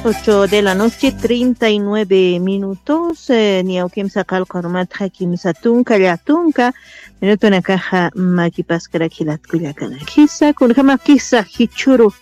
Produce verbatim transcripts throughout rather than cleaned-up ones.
Ocho de la noche, treinta y nueve minutos. Eh, niya ukimsa qallqarumatxa kimsa tunka, llatunka minutunakaxa makipaskarak jilat kullakanakisa, kunjama kisa jichhuru,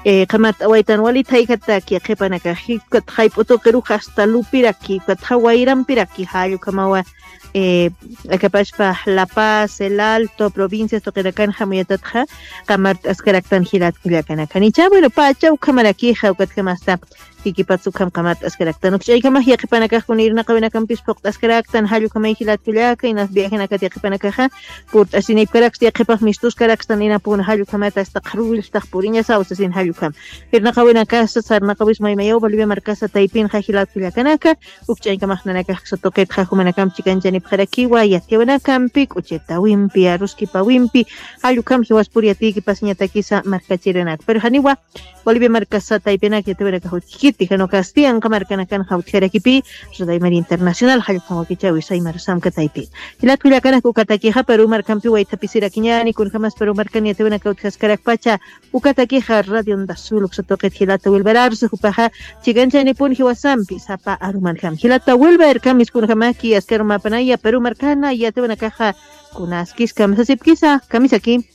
eh, qamart'awaytan wali thayjataki qhipanakax, jikatxa jayp'u tuqirux hasta lupiraki, jikatxa wayrampiraki, jall ukhamawa, eh, akapachpa La Paz, El Alto, provincias tuqirakan jamuyatatxa, qamart'askaraktan jilat kullakanaka. Nicha, bueno, pacha ukhamarakixa, ukatkamasta, jikipatsa ukham qamart'askaraktan. Ukch'aykamax yaqhipanakax kuna irnaqawinakampis phuqt'askaraktan, jall ukhamay jilat kullaka, inas viajenakat yaqhipanakaxa, purt'asinipkaraksta, yaqhipax mistuskaraktan, inapuna jall ukhamat hasta qharwillstax puriñasaw sasin jall ukham. Irnaqawinakasa, sarnaqawis maymayaw Bolivia markasa taypinxa jilat kullakanaka, ukch'aykamax nanakax ksa tuqitxa jumanakamp chikanchanipxarakiwa, yatiyawinakampi, k'uchitawimpi, aruskipawimpi, jall ukham jiwaspur yatiyki pasiñatakisa markachirinaka. Pero janiwa, Bolivia markasa taypinak yatiyawinakax utjkiti, jan ukasti anqa markanakanxa utjarakipi, Red Aymara Internacional, jall ukham wakichäwis aymar samka taypi. Jilat kullakanak ukatakixa, Perú markampi waythapisirakiñäni, kunjamas Perú markan yatiyawinaka utjaskarakpacha, ukatakixa Radio Onda Azul uksa tuqit jilata Wilber Arce, jupaxa chikanchayanipun jiwasampi, sapa arumanjam. Jilata Wilber, kamiskunjamaki, askarumapanaya, Perú markana, yatiyawinakaxa, kunaskis kamsasipkisa, kamisaki.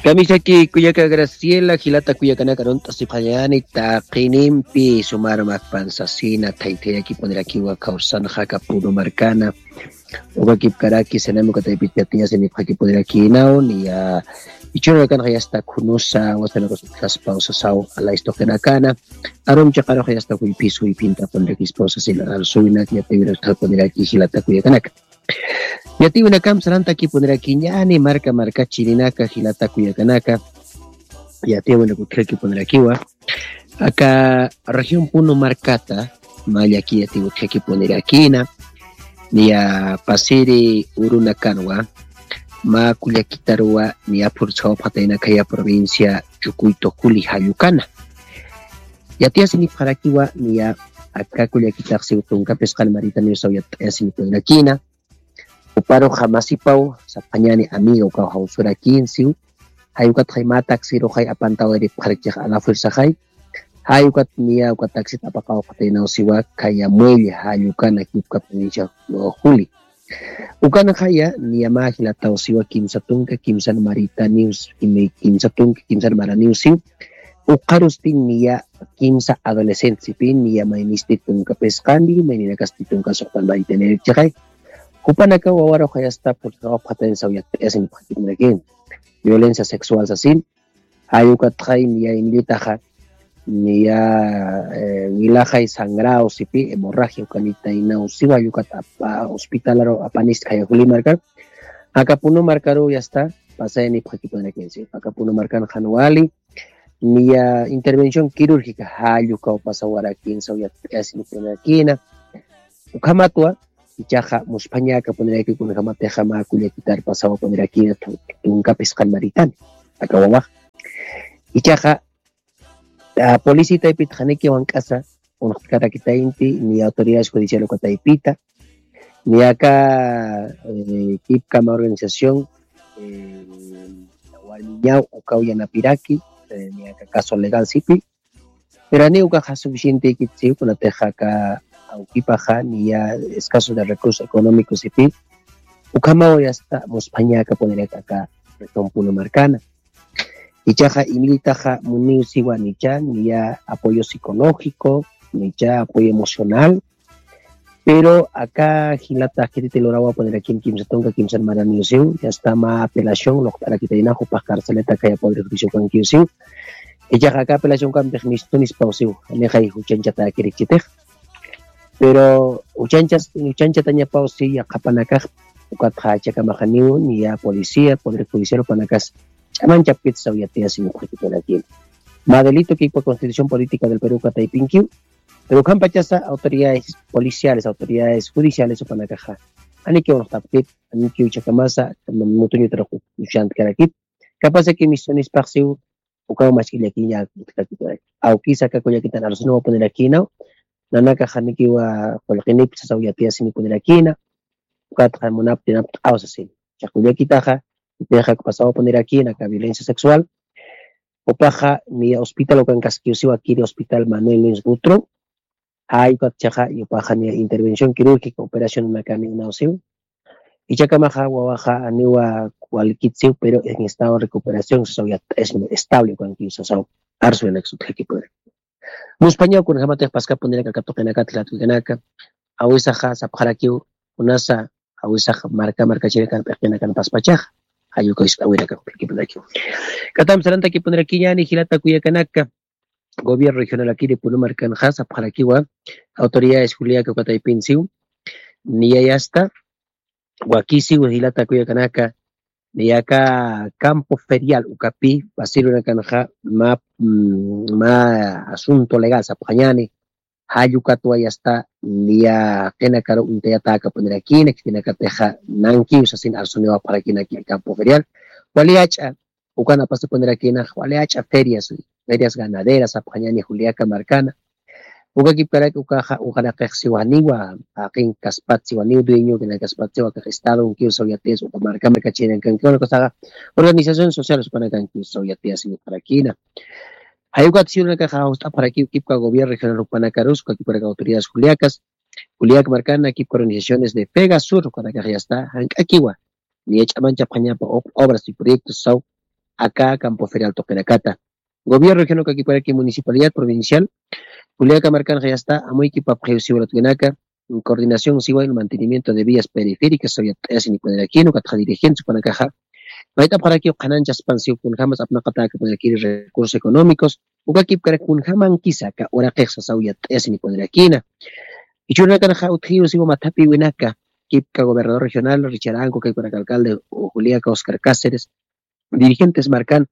Kamisaki kullaka Graciela, jilata kullakanaka arunt'asipxañäni, taqinimpi, sumaru makpan sasina, thaythayakipunirakiwa kawsanxa aka Perú markana, ukakipkaraki, sinami uka taypit yatiyasinipxakipunirakiñäni, niya, jichhürunakanxa yasta khunusa, wasanakas utjaspaw sasaw, alaystuqinakana, arum chiqaruxa yasta juyphis, juyphintapunirakispawsa sina, arsuwinak, yatiyawinakpuniraki, jilata kullakanaka. Yatiyawinakamp sarantakipunirakiñäni, marka markachirinaka, jilata kullakanaka, yatiyawinakut utjakipunirakiwa. Aka región Puno markata, mä llaki yatiyawinakut utjakipunirakïna, niya pasiri urunakanwa, mä kullakitaruwa, niya phurchawapxatayna khaya provincia Chucuito Juli jall ukana. Yatiyasinipxarakiwa, niya aka kullakitax siw tunka phisqan maritaniw saw yatt'ayasinipunirakïna. Juparuxa masipaw, sapxañäni amiga ukaw jawsurakïn siw. Jay ukatxay mä taxiruxay apantawayiripxarakchix a la fuerzaxay. Jay ukat niya uka taxit apaqawapxataynaw siwa, khaya muelle jall ukana, jikipka provincia Juli. Ukanxaya niya mä jilataw siwa kimsa tunka kimsan maritaniw, kimsa tunka kimsan maraniw siw. Ukxarusti niya kimsa adolescentesipï, niya maynisti tunka phisqani, mayninakasti tunka suxtan maritaniripchixay. Jupanakaw wawaruxay asta purt'awapxatañ saw yatt'ayasinipxakipunirakin. Violencia sexual sasin, jay ukatxay niya inllitaxa, niya, eh, wilaxay sangraw sipi, hemorragia ukanitaynaw siwa, jay ukat apa, hospitalaru apanist khaya Juli markar, aka Puno markaru yasta pasayanipxakipunirakin siw. Aka Puno markan jan wali, niya intervención quirúrgica jall ukaw pasawarakin saw yatt'ayasinipunirakïna. Ukhamatwa, ichaxa musphañäkapuniraki kunjamatixa mä kullakitar pasawapunirakïna tu-, tunka phisqan maritani, aka wawax. Ichaxa, ah, policía taypit janiki wank'asa, uñt'karakitayinti, niya autoridades judicial uka taypita, niya aka, eh, kipkama organización, eh, warmiñaw ukaw yanapiraki, eh, niya aka caso legal sipi, pero janiw ukaxa suficientekit siw, kunatixa aka awkipaxa niya escaso de recursos económicos sipi, ukhamaw yasta musphañäkapuniraki aka región Puno markana. Ichaxa inllitaxa muniw siwa nicha, niya apoyo psicológico, nicha apoyo emocional, pero aka jilata khititi lurawapunirakïn kimsa tunka kimsan maraniw siw, yasta mä apelación luqt'arakitayna jupax carceleta khaya Poder Judicial ukankiw siw. Ichaxa aka apelación ukampix mistunispaw siw, janixay juchanchatäkirikchitix. Pero juchanchas, juchanchatañapaw siw yaqhapanakax, ukatxa jichhakamax janiw, niya policía, Poder Judicial jupanakas ch'amanchapkit saw yatiyasinipxakipunirakin. Mä delito kipka Constitución Política del Perú uka taypinkiw, pero ukhampachasa autoridades policiales, autoridades judiciales jupanakaxa, janikiw uñt'apkit, janikiw jichhakamasa mutuñutar uñt'karakit. Capaz de que mistunispax siw, ukaw mask'illakiña utjkakipuraki. Awkisa aka kullakitan arsunuwapunirakiñäw, nanakax janikiwa qullqinipsa saw yatiyasinipunirakïna, ukatxa munaptinapt'aw sasin. Jichhax kullakitaxa, utjax pasawapunirakiña aka violencia sexual, Jupaxa niya hospital ukankaskiw siwa, kiri hospital Manuel Luis Gutro. Jay ukat jichhaxa jupaxa niya intervención quirúrgica operación unakani unaw siw. Jichhakamaxa wawaxa janiwa walkit siw, pero en estado de recuperación sasaw, yatt'ayasini, estable ukankiw sasaw. Arsuwinaksa utjakipunirak. Muspañaw kunjamatix paskapunirak aka tuqinakat jilat kullakanaka. Jawisaxa sapxarakiw kunasa, jawisax marka markachirikan p'iqinakan paspachaxa. Jay uka ist'awinakan utjakipunirak. K'atam sarantakipunirakini jilata kullakanaka. Gobierno regionalakiri Puno markanxa sapxarakiwa autoridades Juliaca uka taypin siw, niya yasta wakisiw jilata kullakanaka, niya aka campo ferial ukapi pasirunakanxa mä, mm, mä asunto legal sapxañäni. Jay ukatwa yasta niya qinakaru uñtayatäkapunirakïna, khitinakatixa nankiw sasin arsuniwapxarakinaki campo ferial. Wali jach'a ukan apasipunirakïna, wali jach'a ferias, ferias ganaderas sapxañäni Juliaca markana. Ukakipkarak ukaxa uqaraqix siwa janiwa jaqin kaspat, siwa janiw dueño kina kaspat, siwa akax estadonkiw saw yatiyas, uka marka markachirinankankiw, ukasaxa organizaciones sociales ukanakankiw saw yatiyas jupxarakïna. Jay ukat siwirunakaxa jawst'apxarakiw kipka gobierno regional jupanakarus, ukakipkarak autoridades Juliacas, Juliaca markana, kipka organizaciones de FEGASUR ukanakax yasta jank'akiwa niya ch'amanchapxañapa ob-, obras y proyectos saw aka campo ferial tuqinakata. Gobierno regional ukakipkaraki municipalidad provincial Juliaca markanxa yasta amuykipapxiw siwa jilat kullakanaka, coordinación siwa el mantenimiento de vías periféricas saw yatt'ayasinipurakïna, ukatxa dirigentes jupanakaxa mayt'apxarakiw qhanañchaspan siw kunjamas apnaqatäkapurakïri recursos económicos, ukakipkarak kunjamankisa aka uraqix sasaw yatt'ayasinipurakïna. Jichhürunakanxa utjiw siwa mathapïwinaka, kipka gobernador regional Richard Ancu, kipkarak alcalde Juliaca Oscar Cáceres, dirigentes markan,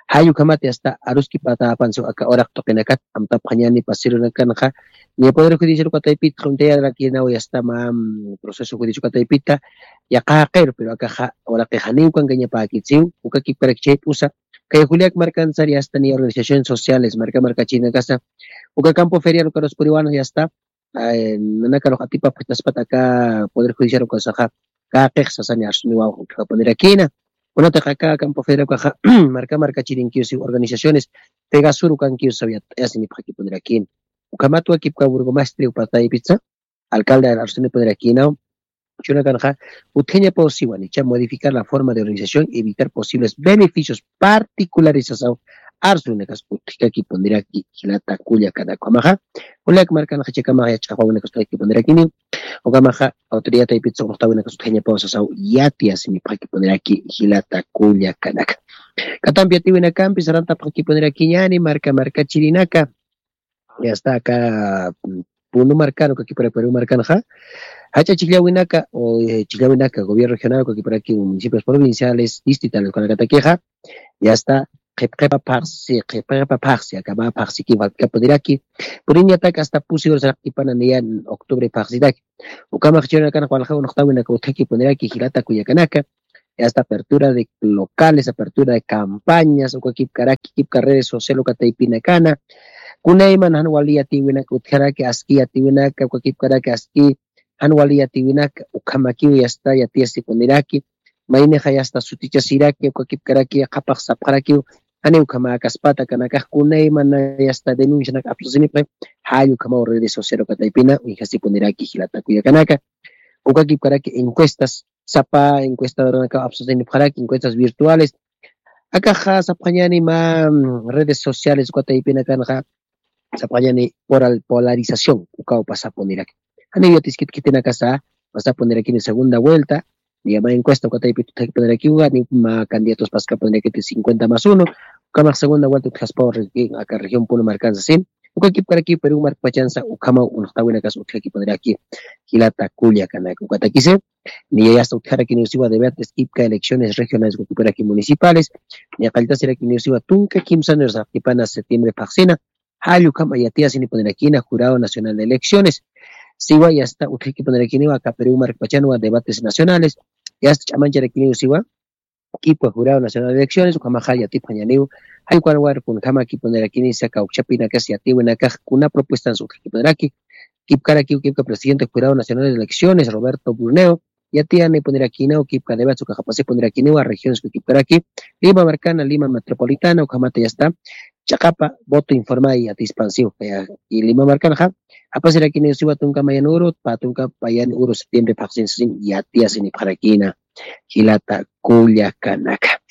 jay ukhamat yasta aruskipatäpan siw aka uraq tuqinakat, amtapxañäni pasirunakanxa niya Poder Judicial uka taypit uñtayarakïnaw yasta mä, mm, proceso judicial uka taypita, yaqha jaqiru, pero akaxa uraqix janiw ukankañapäkit siw, ukakipkarak chayp'usa, kay Juliaca markan sar yasta niya organizaciones sociales marka markachirinakasa uka campo ferial ukarus puriwan yasta, eh, nanakarux atipapxataspat aka Poder Judicial ukasaxa, kaqix sasani arsuniwaw utjapunirakïna. Kunatix aka campo ferial ukaxa marka markachirinkiw siw organizaciones FEGASUR ukankiw saw yatt'ayasinipxakipunirakïna. Ukhamatwa kipka burgomaestre uka taypitsa, alcalde arsunipurakïnaw, jichhürunakanxa utjañapaw siwa niya modificar la forma de organización y evitar posibles beneficios particulares sasaw arsuwinakas utjkakipuniraki jilata kullakanaka. Ukhamaxa Juliaca markanxa jichhakamaxa yach'apawinakas utjakipunirakini, ukhamaxa autoridad taypitsa uñtawinakas utjañapaw sasaw yatiyasinipxakipuniraki jilata kullakanaka. K'atampi yatiwinakampi sarantapxakipunirakïñäni marka markachirinaka, yasta aka, mm, Puno markan ukakipkarak Perú markanxa, jach'a chhijllawinaka, o, eh, chhijllawinaka, gobierno regional ukakipkaraki municipios provinciales, distritales ukanakatakixa, yasta qhipqipa phaxsi, qhipqipa phaxsi, aka mä phaxsiki faltkapuniraki, puriñatak hasta pusi horas saraqtipana niya octubre phaxsitaki. Ukhamax jichhürunakanxa walja uñtawinaka utjakipuniraki jilata kullakanaka, hasta apertura de locales, apertura de campañas, ukakipkaraki, kipka redes social uka taypinakana, kunayman jan wali yatiwinaka utjaraki, aski yatiwinaka, ukakipkaraki aski jan wali yatiwinaka, ukhamakiw yasta yatiyasipuniraki, maynixa yasta sutichasiraki, ukakipkaraki qhapaq sapxarakiw, janiw ukhamäkaspata, akanakax kunayman yasta denuncianak apsusinipxi, jay ukhamaw redes social uka taypina uñjasipuniraki jilata kullakanaka. Ukakipkaraki encuestas, sapa encuestadornakaw apsusinipxaraki, encuestas virtuales. Akaxa sapxañäni mä, mm, redes sociales uka taypinakanxa, sapxañäni poral-, polarización ukaw pasapuniraki. Janiw yatiskit khitinakasa, pasapunirakini segunda vuelta, niya mä encuesta uka taypit utjakipunirakiwa, niya mä candidatos paskapunirakiti cincuenta más uno, ukhamax segunda vuelta utjaspaw regi-, aka región Puno markansa sin, ukakipkarakiw Perú markpachansa ukhamaw uñtawinakas utjakipuniraki jilata kullakanaka. Ukatakisi, niya yasta utjarakiniw siwa debates kipka elecciones regionales ukakipkaraki municipales, niya qalltasirakiniw siwa tunka kimsa horas saraqtipana septiembre phaxsina, jay ukham yatiyasinipunirakïna Jurado Nacional de Elecciones. Siwa yasta utjakipunirakiniwa aka Perú markpachanwa debates nacionales, yasta ch'amancharakiniw siwa kipka Jurado Nacional de Elecciones, ukhamaxa yatipxañäniw, jay ukanwa kunjamakipunirakini, saka kawkchapinakas yatiwinakax kuna propuestas utjakipuniraki, kipkarakiw kipka presidente Jurado Nacional de Elecciones, Roberto Burneo, yatiyanipunirakiñäni, kipkadewats ukax apasipunirakiñäni, regiones kipkaraki, Lima markana, Lima metropolitana, ukhamata ya está, ch'aqapa voto informal yatispansiw, ya, y Lima markanxa, apasirakiñäni siwa tunka mayan uru, pä tunka mayan uru septiembre phaxsin sasin yatiyasinipxarakïna. Jilata kullakanaka.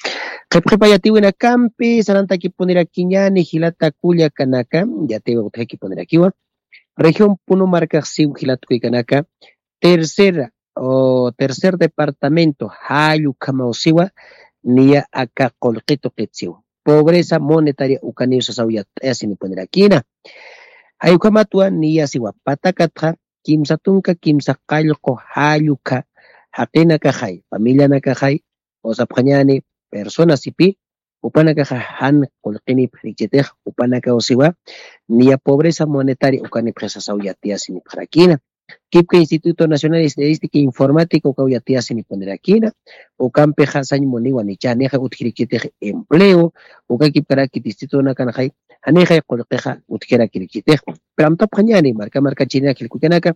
Qhipqhipa yatiwinakampi sarantakipunirakiñäni jilata kullakanaka, yatiwa utjakipunirakiwa. Región Puno markax siw jilat kuykanaka, tercera o tercer departamento, jall ukhamaw siwa, niya aka qullqi tuqit siw. Pobreza monetaria ukaniw sasaw yatt'ayasinipunirakiñäni. Jay ukhamatwa niya siwa patakatxa, kimsa tunka kimsa qallqu jall ukha jaqinakaxay, familianakaxay, o sapxañäni personas sipi, jupanakaxa jan qullqinipxi rikchitix, jupanakaw siwa, niya pobreza monetaria ukanipxi sasaw yatiyasinipxarakïna. Kipka Instituto Nacional de Estadística Informática ukaw yatiyasinipunirakïna, ukampixa sañ muniwa nichanixa utji rikchitix empleo, uka kipkaraki distritonakanxay, janixay qullqixa utjiraki rikchitix. Pero amtapxañäni, marka markachirinaka jilkukanaka,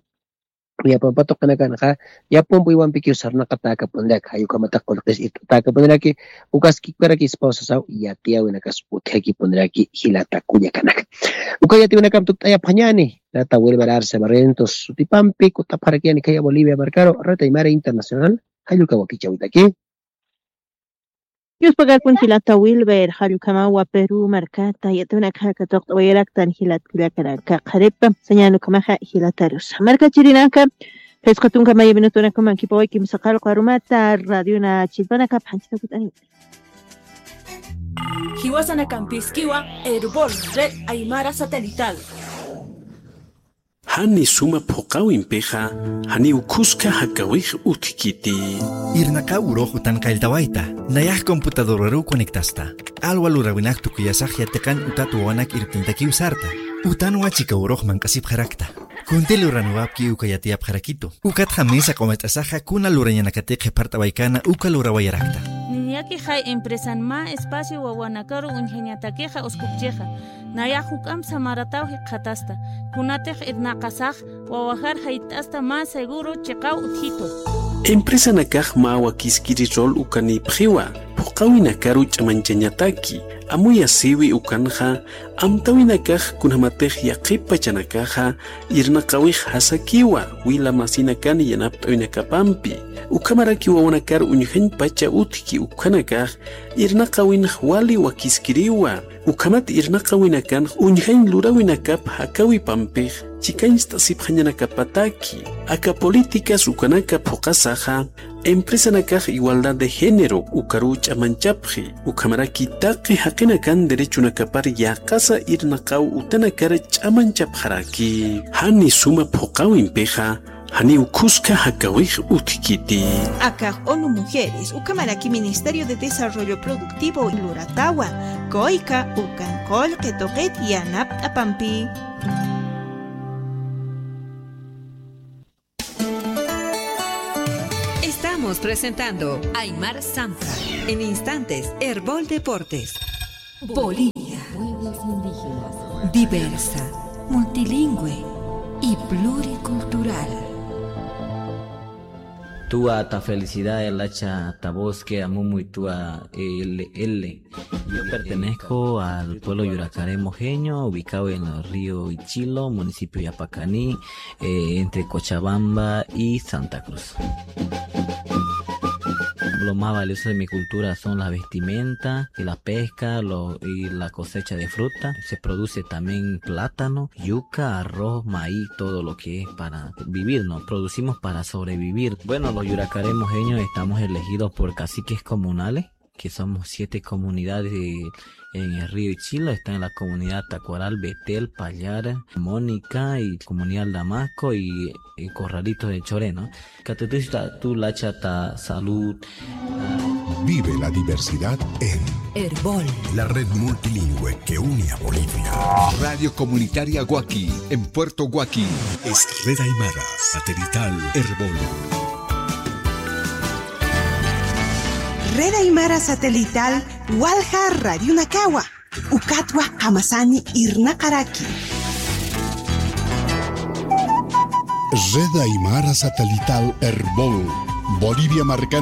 yapampa tuqinakanxa, yapampa uywampiki sarnaqatäkapuniraki, jay ukhamatix qullqis irt'atäkapuniraki, ukas kipkaraki ispaw sasaw yatiyäwinakas utjakipuniraki jilata kullakanaka. Uka yatiwinakamp tukt'ayapxañäni, jilata Wilber Arce Barrientos sutipampi, kutapxarakïni khaya Bolivia markaru, Red Aymara Internacional, jall uka wakichäwitaki. Yuspagakun jilata Wilber, jall ukhamawa Perú markata, yatiwinakxa katuqt'awayaraktan jilat kullakanaka qharipa, sañän ukhamaxa jilatarusa. Markachirinaka, phisqa tunka maya minutunakuman qhipawayi kimsa qallqu arumata, radiona chillpanakap janchita kut'ani. Jiwasanakampïskiwa, Erbol, Red Aymara Satelital. Jani suma phuqawimpixa, janiw khuska jakawix utjkiti. Irnaqaw urux utan qalltawayta, nayax computadoraruw conectasta. Q'alwa lurawinak tukuyasax yatiqan utat wawanak irptintakiw sarta. Utanwa chika urux manq'asipxarakta. Kunti luranwapki uka yatiyapxarakitu. Ukatxa mesa q'umit'asaxa kuna lurañanakatix qhipart'awaykana uka lurawayarakta. Niñakixay empresan mä espacio wawanakaru uñjañatakixa uskupchixa. Nayax juk'amp samarataw jikxatasta. Kunatix irnaqasax wawajar jayt'asta mä seguro chiqaw utjitu. Empresanakax mä wakiskiri rol ukanïpxiwa, phuqawinakaru ch'amañchañataki, amuyasiwi ukanxa, amtawinakax kunjamatix yaqhip pachanakaxa, irnaqawix jasakiwa, wila masinakan yanapt'awinakapampi, ukhamaraki wawanakar uñjañ pacha utjki ukhanakax, irnaqawinx wali wakiskiriwa, ukhamat irnaqawinakan uñjañ lurawinakap jakawipampix chikañcht'asipxañanakapataki. Aka políticas ukanaka phuqasaxa, empresanakax igualdad de género ukaruw ch'amañchapxi, ukhamaraki taqi jaqinakan derechonakapar yäqasa irnaqaw utanakar ch'amañchapxaraki. Jani suma phuqawimpixa, janiw khuska jakawix utjkiti. Akax ONU Mujeres, ukhamaraki Ministerio de Desarrollo Productivo luratawa, kuyka ukan qullqi tuqit yanapt'apampi. Estamos presentando Aymar Sampha. En instantes, Erbol Deportes. Bolivia. Pueblos indígenas. Diversa, multilingüe y pluricultural. Tuwa ta felicidad, el hacha ta bosque, amumuy tuwa, eh, L L. Yo pertenezco al pueblo Yuracare Mojeño, ubicado en el río Ichilo, municipio Yapacaní, eh, entre Cochabamba y Santa Cruz. Lo más valioso de mi cultura son las vestimentas y la pesca, lo, y la cosecha de fruta. Se produce también plátano, yuca, arroz, maíz, todo lo que es para vivir, ¿no? Producimos para sobrevivir. Bueno, los Yuracare Mojeños estamos elegidos por caciques comunales, que somos siete comunidades de, en el río Ichilo, están en la comunidad Tacuaral, Betel, Pallara, Mónica y comunidad Damasco y, y Corralitos de Choreno. Katutusta tu lachata salud. Vive la diversidad en Erbol, la red multilingüe que une a Bolivia. Radio Comunitaria Guaki, en Puerto Guaki. Es Red Aymara Satelital Erbol. Red Aymara Satelital Walja Radionakawa. Ukatwa jamasani irnaqaraki. Red Aymara Satelital Erbol. Bolivia markan